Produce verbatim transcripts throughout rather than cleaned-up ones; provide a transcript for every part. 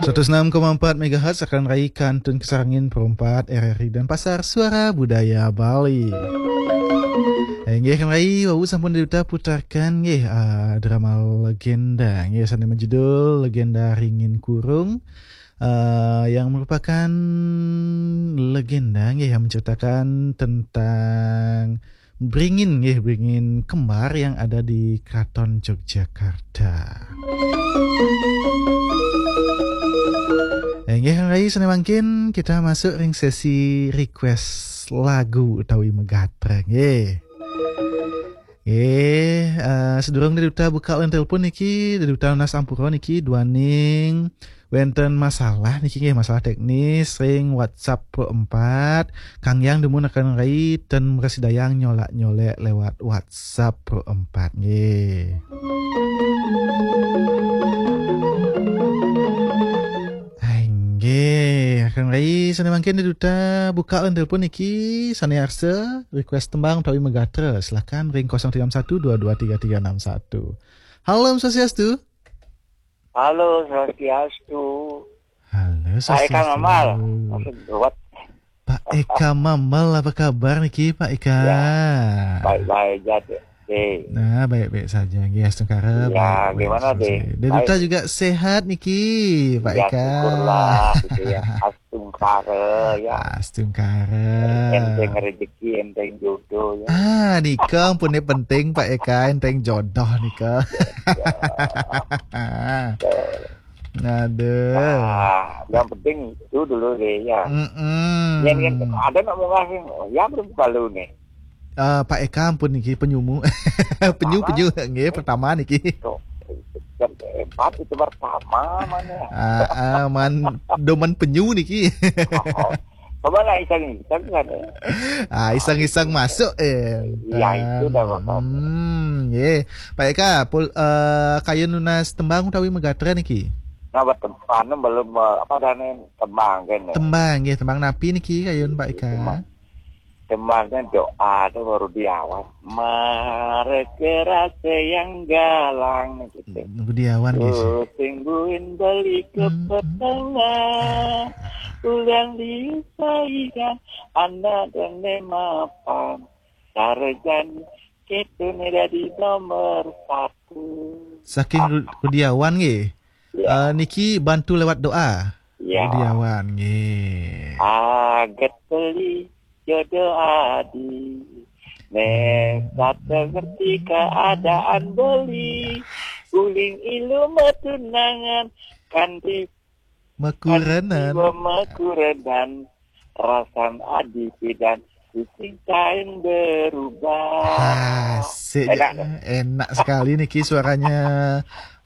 Seratus enam koma empat megahertz akan rai kantun kasarengin Pro empat R R I Denpasar, Suara Budaya Bali. Eh, nggih, akan rai wau sampun diuta putarkan nggih, ah, drama legenda nggih, sane majudul Legenda Ringin Kurung, ah, yang merupakan legenda nggih, yang menceritakan tentang beringin nggih, beringin kembar yang ada di Keraton Yogyakarta. Eh, nggih, akan rai sane mangkin kita masuk ring sesi request lagu utawi megatra nggih. Nggih, eh, sedurung diduta buka line telepon niki, diduta nunas ampura niki duaning wenten masalah niki nggih, masalah teknis ring WhatsApp Pro empat. Kanggiang dumun akan rai ten mrasidayang nyolak-nyolek lewat WhatsApp Pro empat nggih. Hai, nggih, akan rai sane mangkin diduta buka line telepon niki, sane arsa request tembang utawi megatra, silakan ring kosong tiga enam satu dua dua tiga tiga enam satu. Halo, Om Swastiastu. Halo, Swastiastu. Halo, Pak Eka Swastiastu. Mamal. Maksud buat. Pak Eka Mamal, apa kabar niki, Pak Eka? Ya, baik-baik aja, deh. Oke. Nah, baik-baik saja. Nggih, astungkara, ya, baik-baik gimana, saja. Deh? Dari Duta juga sehat niki, Pak Eka. Ya, syukurlah, gitu ya. Astungkara, ya. Astungkara. Enteng rezeki, enteng jodoh, ya. Ah, nika ampun penting, Pak Eka, enteng jodoh nika. Ya. Betul. Aduh. Nah, yang penting itu dulu deh, ya. Mm-mm. Yang, yang ada nak mau ngasih, ya, belum kalau nih. Eh, Pak Eka ampun niki penyumu. Penyu, pertama, penyu, nggih, pertama niki. Tuh, hebat itu pertama mana? Ah, ah, man, doman penyu niki. Oh, coba lah iseng-iseng kan, ya. Ah, iseng-iseng masuk, eh. Iya, itu dah, Bapak. Hmm, nggih. Pak Eka, pul, eh, kayun nunas tembang utawi megatra niki? Nah, buat tem-, anu, belum, eh, apa, dane tembang kan, ya? Tembang, nggih, tembang napi niki kayun, Pak Eka? Tembang. Tembangnya doa tuh baru diawan. Mareke rasa yang galang gitu. Rudi Awan, nggih, sih. Tuh, sing buin beli ke petengah. Ulang disaikan anak dan mapan. Sarjan kita nih dari nomor satu. Saking Ru-, Rudi Awan, nggih. Ya. Eh, niki bantu lewat doa. Ya. Rudi Awan, nggih. Aget beli jodoh adi. Nek satu ngerti keadaan beli. Uling ilu matunangan. Kanti, makurenan. Kanti makurenan. Rasan adi pidan. Sing kain berubah. Asik. Enak, kan? Enak sekali niki suaranya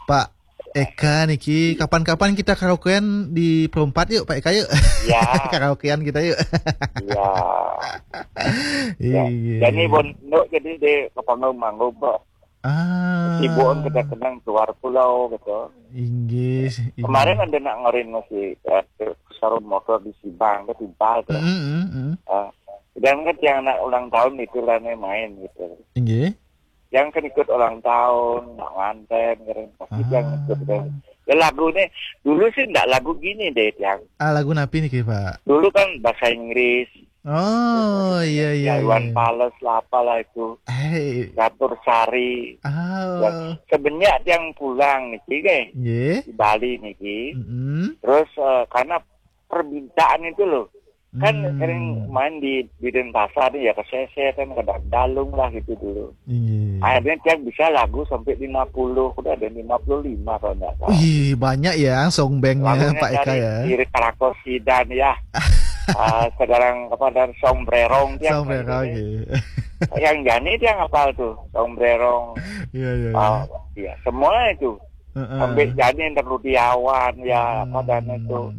Pak Eka niki. Kapan-kapan kita karaokean di Perumpat yuk, Pak Eka, yuk. Ya. Karaokean kita yuk. Ya. Iya. Jadi bon, nduk, jadi di Kepanggung manggung, Pak. Ah. Sibuk kita kenang keluar pulau gitu. Inggih, inggih. Kemarin ada nak ngerin masih, eh, sarung motor di Sibang, ke Timpal tuh. Mm, mm, mm. Ah, dan kan yang anak ulang tahun itu lah nih main gitu. Inggih. Yang kan ikut ulang tahun, nak nganten, ngerin pasti yang ikut deh. Ah. Ya lagu nih, dulu sih ndak lagu gini deh, yang. Ah, lagu napi niki, Pak? Dulu kan bahasa Inggris. Oh, iya, iya, ya, Iwan Fals lah, apalah itu. Hei. Catur Sari. Ah. Ya, semenjak yang pulang niki, nggih. Nggih. Di Bali niki. Mm-mm. Terus, eh, karena permintaan itu loh. Kan sering main di, di Denpasar nih ya, ke Sese kan, ke Dalung lah gitu dulu. Iya. Akhirnya tiang bisa lagu sampai lima puluh, udah ada lima puluh lima kalau nggak salah. Wih, banyak ya song bandnya Pak Eka ya. Lagunya dari Krakosidan ya. Ah, sekarang apa, dan Song Brerong tiang. Song Brerong, iya. Yang Jani tiang apal tuh, Song Brerong. Iya, iya, iya. Ah, iya, semua itu. Heeh. Sampai Jani, Rudi Awan ya, apa dan itu.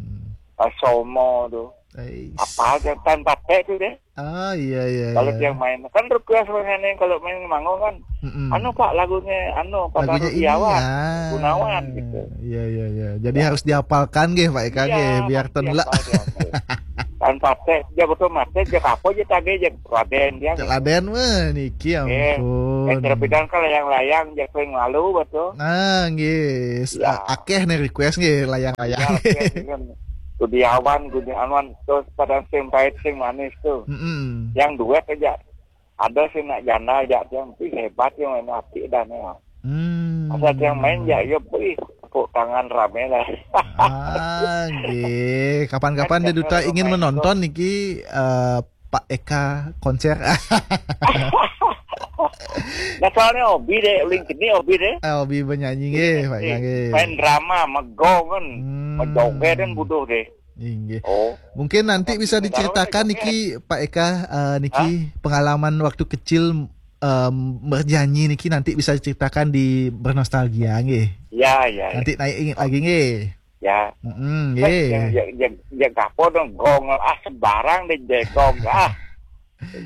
Ah, Somo tuh. Ais. Apa aja tanpa teh tuh deh. Ah, iya, iya, kalau iya. Tiang main. Kan request sebenarnya kalau main manggung kan. Mm-mm. Anu, Pak, lagunya, anu, Pak, lagunya Rudi ini, Awan, ah. Gunawan gitu. Iya, iya, iya. Jadi ya, harus dihafalkan nggih, Pak Eka, iya, nggih, biar tenlek. Dihafal, dihafal. Kan paté, ja betul maté, ja kapo ja tagih, ja Raden dia. Cak Raden mah niki, eh, ampun. Eh, terbidan kan layang-layang, ja sering lalu betul. Nah, nggih. Ya. A-, akeh nih request nggih, layang-layang. Ya, oke, kan. Gudiawan, Gudiawan, terus pada sing pahit, sing manis tuh. Mm-mm. Yang duet aja. Ada sih nak janda aja, tapi hebat yang main api dan ya. Hmm. Asal yang main ya, ya, wih, tepuk tangan rame lah. Ah, nggih. Kapan-kapan Kan dia duta jadwal ingin pemain menonton niki, eh, Pak Eka konser. Nah, soalnya hobi deh, uling kini hobi deh. Eh, hobi bernyanyi nggih, Pak Eka Eh, nggih. Main drama, megong kan. Hmm. Mejoget kan butuh deh. Inggih. Oh. Mungkin nanti bisa diceritakan niki, Pak Eka, eh, niki pengalaman waktu kecil, em, bernyanyi niki nanti bisa diceritakan di Bernostalgia nggih. Ya, ya, ya. Nanti naik ingat lagi nggih. Ya. Mm-mm, nggih. Ya, ya, ya, ya, gapo dong, gong, ah, sembarang deh, jegong, ah.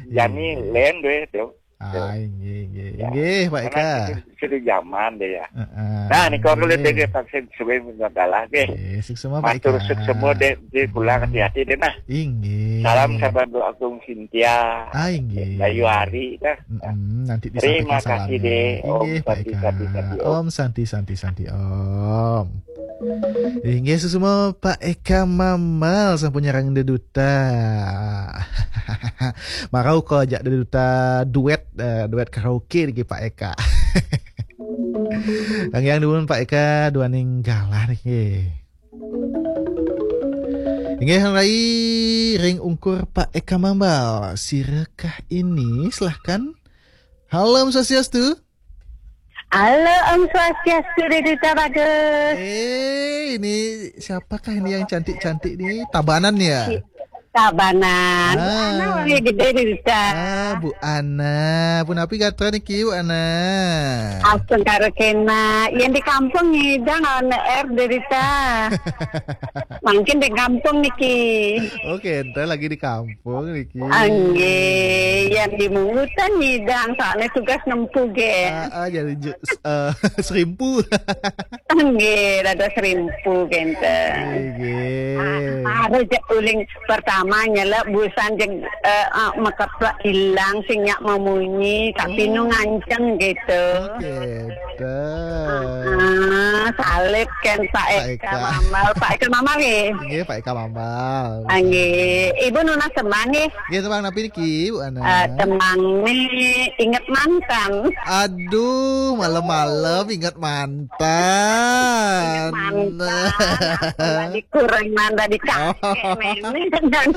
Jani Iya. Lain deh, tuh. Ah, inggih, inggih. Ya. Inggih, Pak Eka. Karena itu, itu zaman deh ya. Heeh. Nah, nih kalau lihat deh, vaksin suwe mendalah deh. Inggih, suksma, Pak Eka. Matur suksma deh, di pulang hati-hati deh, nah. Inggih. Salam sahabat Agung Cynthia. Ah, inggih. Bayu Ari, dah. Mm-mm, nanti disampaikan salamnya. Terima kasih deh. Om Santi, Santi, Santi, Om. Om Santi, Santi, Santi, Om. Inggih, suksma Pak Eka Mambal sampun nyarengin Deduta. Marau ko ajak Deduta duet, eh, duet karaoke niki Pak Eka. Tanggiang dumun Pak Eka duaning galah niki. Inggih, rai ring ungkur Pak Eka Mambal. Sirakah ini? Silahkan. Halo, Om Swastiastu. Halo, Om Swastiastu, Deduta Bagus. Eh, ini siapakah ini yang cantik-cantik nih? Tabanan ya? Si-, Tabanan. Ah. Ana wali gede, Deduta. Ah, Bu Ana. Punapi gatra niki, Bu Ana? Astungkara kena. Yang di kampung ngidang on air, Deduta. Mungkin di kampung niki. Oke, entar lagi di kampung. Pun niki. Anggih, yang di Mungutan ngidang, soalnya tugas nempu ge. Ah, ah, jadi ju-, s-, eh, serimpu. Anggih, rada serimpu kenten. Nggih. Ah, harus je uling pertama nyelek busan je, eh, eh, mekeplek ilang sing nyak memunyi, tapi nu nganceng gitu. Oke. Dah. Ah, salib kan Pak Eka Mambal. Pak Eka Mambal nggih? Nggih, Pak Eka Mambal. Ah, nggih. Ibu nunas tembang nggih? Nggih, tembang napi niki, Bu Ana? Eh, tembang ni Ingat Mantan. Aduh, malam-malam ingat mantan. Ingat mantan. Tadi kurang mantan di kakek. Oh.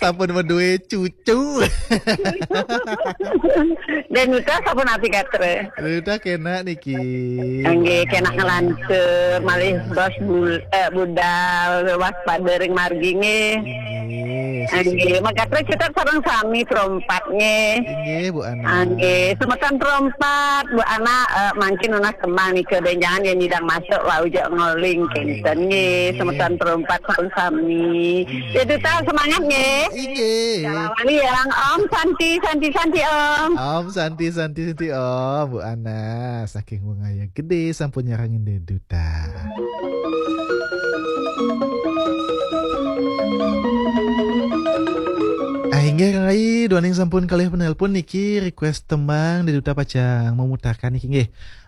Sampun madue cucu. Deduta sampun api gatra? Deduta kena niki. Nggih, kena ngelantur, malih bos bul-, eh, budal, waspada ring margi nggih. Nggih. Nggih, magatra kita sareng sami perompat nggih. Nggih, Bu Ana. Nggih, semeton perompat, Bu Ana, eh, mangkin nunas tembang nika, benjangan yang nyidang masuk, wau jak ngoling, kenten nggih, semeton perompat sareng sami. Deduta semangat nggih. Inggih. Kala wali yang Om Santi, Santi, Santi, Om. Om Santi, Santi, Santi, Om. Bu Ana, saking wengaya gede sampun nyarengin Deduta. Ah, inggih, Kang Rai, duaning sampun kalih penelpon niki request tembang Deduta pacang memutarkan niki nggih.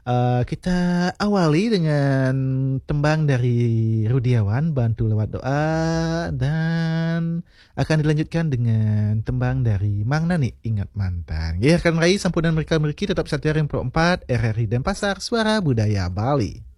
Eh, kita awali dengan tembang dari Rudiawan, Bantu Lewat Doa, dan akan dilanjutkan dengan tembang dari Mang Nani, Ingat Mantan. Ya, rekan rai, sampunang mereka meriki tetap setia ring Pro empat R R I Denpasar, Suara Budaya Bali.